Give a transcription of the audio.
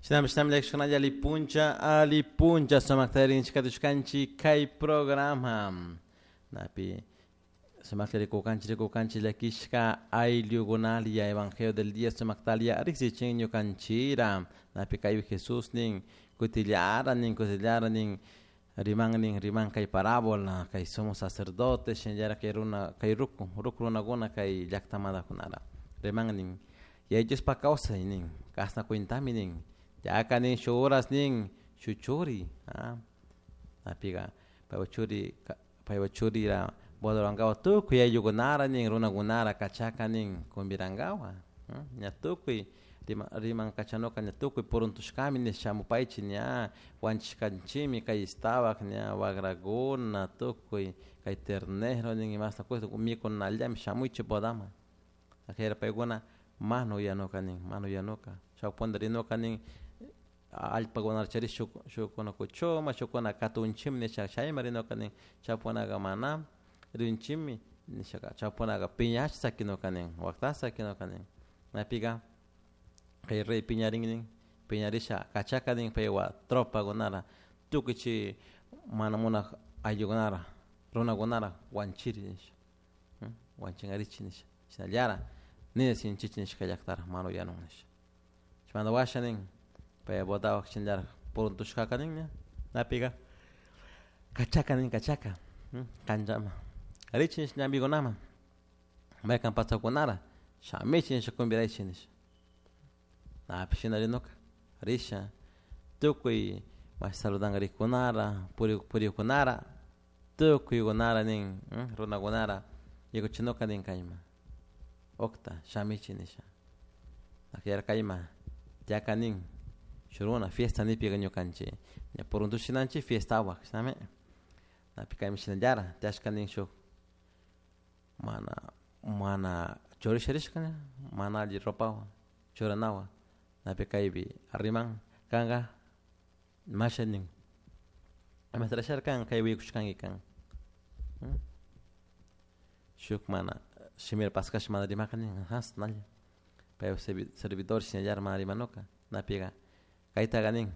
Shinami shinami llakishkunalla ali puncha ali puncha sumakta rinchikatushkanchik kay programa napi sumakta rikukanchik rikukanchik llakishka ayllukunalia evangelio del día sumaktalia riksichin ñukanchira napi kaypi Jesús nin kutillara nin kutillara nin riman nin riman kay parábola kay sumo sacerdote shinallara kay runa kay ruku ruku runakuna kay llaktamantakunara riman nin Yaya Diospaj kawsay nin kasna cuentami nin yaka nin shuk horas nin shuk churi napiga paypak churi paypak churira boda tukuy ayllukunara nin runakunara kachaka nin convidankapak ña tukuy riman kachanuka ña tukuy puruntushkami nish shamupaychik ña wanchishkanchikmi kay estabak ña wagrakuna tukuy kay ternero nin imashta mikunallami shamuychik bodaman ajera paykuna mana uyanuka nin mana uyanuka chawpi punta rinuka nin allpakunata charish shuk shukkuna kuchuma shukkuna katunchikmi nisha chayman rinuka nin chaypunaka mana rinchikmi nishaka chaypunaka piñash sakinuka nin waktash sakinuka nin maypika kay rey piñarin nin piñarisha kachaka nin paywan tropakunara tukuy chay mana munak ayllukunara runakunara wanchiri nisha wanchinkarichik nisha shinallara nina sinchichi nishka llaktara mana uyanun nisha chaymanta washa nin pay bodawan shinallara puruntushkaka nin ña napika kachaka nin kachaka kanchaman richik nish ñambikunaman maykan pachakunara shamichik nisha convidaychik nisha napish shina rinuka risha tukuy mashi saludanka rikkunara purikkunara tukuykunara nin runakunara yaykuchinuka nin kayman ukta shamichik nisha kayman tiyaka nin shuk runa fiesta nipika ñukanchik ña puruntushinanchik fiestawan chishnami napi kaymi shinallara tiyashka nin shuk mana mana churasha rishka mana alli ropawan churanawan napi kaypi riman kanka masha nin imatarashara kan kay willakushkanki kan shuk mana shimira paskash mana rimaka nin asnalla paypak servidor shinallara mana rimanuka napika kaytaka nin.